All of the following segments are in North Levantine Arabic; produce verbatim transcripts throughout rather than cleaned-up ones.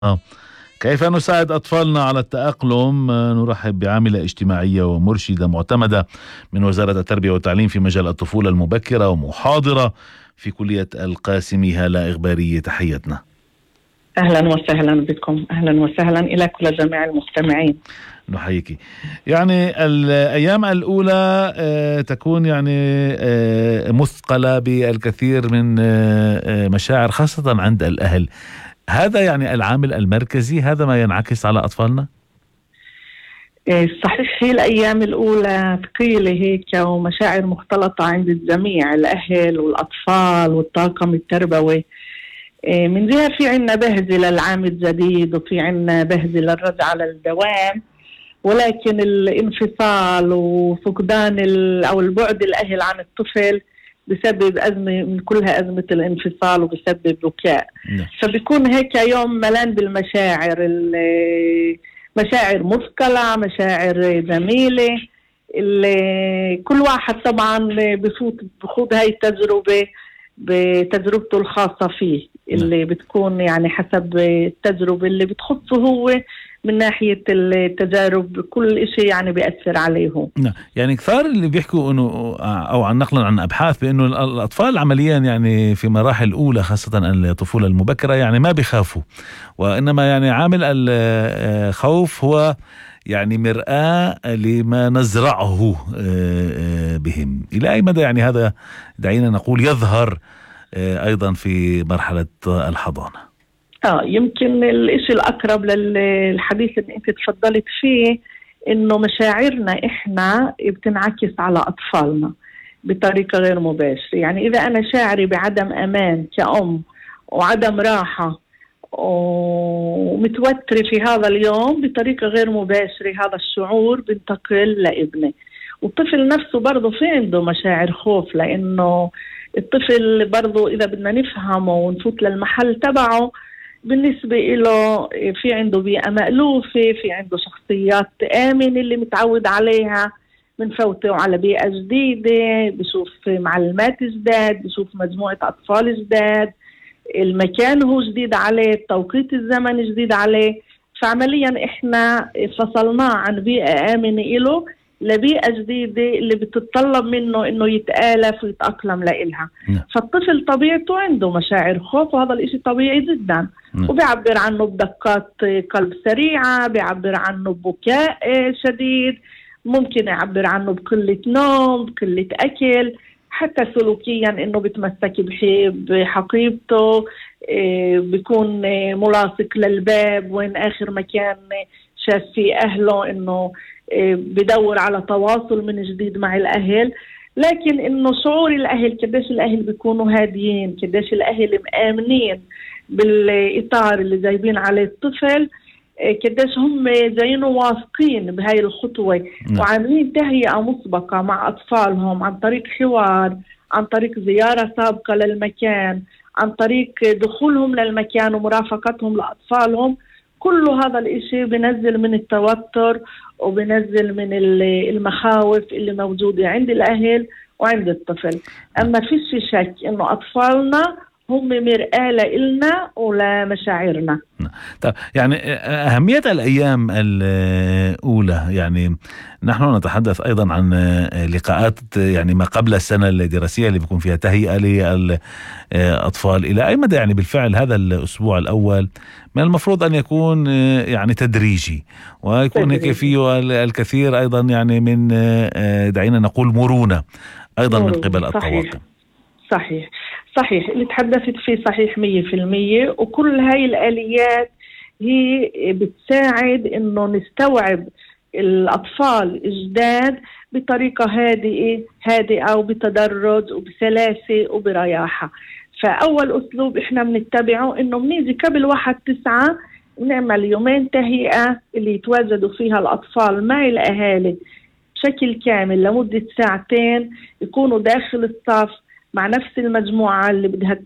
آه. كيف نساعد أطفالنا على التأقلم؟ نرحب بعاملة اجتماعية ومرشدة معتمدة من وزارة التربية والتعليم في مجال الطفولة المبكرة ومحاضرة في كلية القاسمي، هالة إغبارية. تحياتنا. أهلا وسهلا بكم، أهلا وسهلا إلى كل جميع المستمعين. نحييك. يعني الأيام الأولى تكون يعني مثقلة بالكثير من مشاعر خاصة عند الأهل، هذا يعني العامل المركزي، هذا ما ينعكس على أطفالنا؟ صحيح، هي الأيام الأولى ثقيلة هيك ومشاعر مختلطة عند الجميع، الأهل والأطفال والطاقم التربوي. من جهة في عنا بهجة للعام الجديد وفي عنا بهجة للرجعة للدوام، ولكن الانفصال وفقدان أو البعد الأهل عن الطفل بسبب أزمة من كلها أزمة الانفصال وبسبب بكاء. نعم. فبيكون هيك يوم ملان بالمشاعر، مشاعر مثقلة، مشاعر جميلة. كل واحد طبعا بفوت بخوض هاي التجربة بتجربته الخاصة فيه، اللي بتكون يعني حسب التجربة اللي بتخصه هو من ناحية التجارب، كل إشي يعني بيأثر عليه. نعم. يعني كثار اللي بيحكوا إنه أو عن نقلا عن أبحاث بأنه الأطفال عمليا يعني في مراحل الأولى خاصة الطفولة المبكرة يعني ما بيخافوا، وإنما يعني عامل الخوف هو يعني مرآة لما نزرعه بهم. إلى أي مدى يعني هذا دعينا نقول يظهر أيضا في مرحلة الحضانة؟ آه يمكن الإشي الأقرب للحديث اللي أنت تفضلت فيه إنه مشاعرنا إحنا بتنعكس على أطفالنا بطريقة غير مباشرة. يعني إذا أنا شاعري بعدم أمان كأم وعدم راحة ومتوترة في هذا اليوم بطريقة غير مباشرة، هذا الشعور بنتقل لابني. والطفل نفسه برضه في عنده مشاعر خوف، لأنه الطفل برضه إذا بدنا نفهمه ونفوت للمحل تبعه بالنسبة له في عنده بيئة مألوفة، في عنده شخصيات آمنة اللي متعود عليها، بنفوته على بيئة جديدة، بشوف معلمات جداد، بشوف مجموعة أطفال جداد، المكان هو جديد عليه، التوقيت الزمن جديد عليه. فعمليا إحنا فصلناه عن بيئة آمنة إله لبيئة جديدة اللي بتتطلب منه إنه يتآلف ويتأقلم لإلها. م. فالطفل طبيعته عنده مشاعر خوف، وهذا الإشي طبيعي جدا. م. وبيعبر عنه بدقات قلب سريعة، بيعبر عنه ببكاء شديد، ممكن يعبر عنه بقلة نوم، بقلة أكل، حتى سلوكيا إنه بتمسك بحقيبته، بيكون ملاصق للباب وين آخر مكان شاف فيه أهله، إنه بدور على تواصل من جديد مع الأهل. لكن إنه شعور الأهل قديش الأهل بيكونوا هاديين، قديش الأهل مآمنين بالإطار اللي جايبين عليه الطفل، قديش هم جايين واثقين بهاي الخطوة وعاملين تهيئة مسبقة مع أطفالهم عن طريق حوار، عن طريق زيارة سابقة للمكان، عن طريق دخولهم للمكان ومرافقتهم لأطفالهم. كل هذا الإشي بنزل من التوتر وبنزل من المخاوف اللي موجودة عند الأهل وعند الطفل. أما فيش شك إنه أطفالنا هم مرآة لإلنا ولمشاعرنا. طيب يعني أهمية الأيام الأولى، يعني نحن نتحدث أيضا عن لقاءات يعني ما قبل السنة الدراسية اللي بيكون فيها تهيئة للأطفال. إلى أي مدى يعني بالفعل هذا الأسبوع الأول من المفروض أن يكون يعني تدريجي ويكون هيك فيه الكثير أيضا يعني من دعينا نقول مرونة أيضا من قبل الطواقم؟ صحيح صحيح اللي تحدثت فيه صحيح مية في المية. وكل هاي الآليات هي بتساعد إنه نستوعب الأطفال الجداد بطريقة هادئة هادئة وبتدرج وبسلاسة وبرياحة. فأول أسلوب إحنا بنتبعه إنه بنيجي قبل واحد تسعة نعمل يومين تهيئة اللي يتواجدوا فيها الأطفال مع الأهالي بشكل كامل لمدة ساعتين، يكونوا داخل الصف مع نفس المجموعة اللي بدها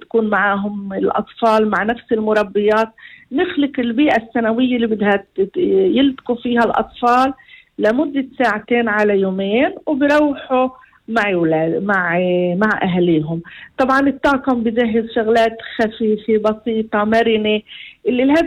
تكون معهم الأطفال، مع نفس المربيات، نخلق البيئة السنوية اللي بدها يلتقوا فيها الأطفال لمدة ساعتين على يومين، وبروحوا مع أولاد مع مع أهليهم. طبعا الطاقم بجهز شغلات خفيفة بسيطة مرنة اللي الهدف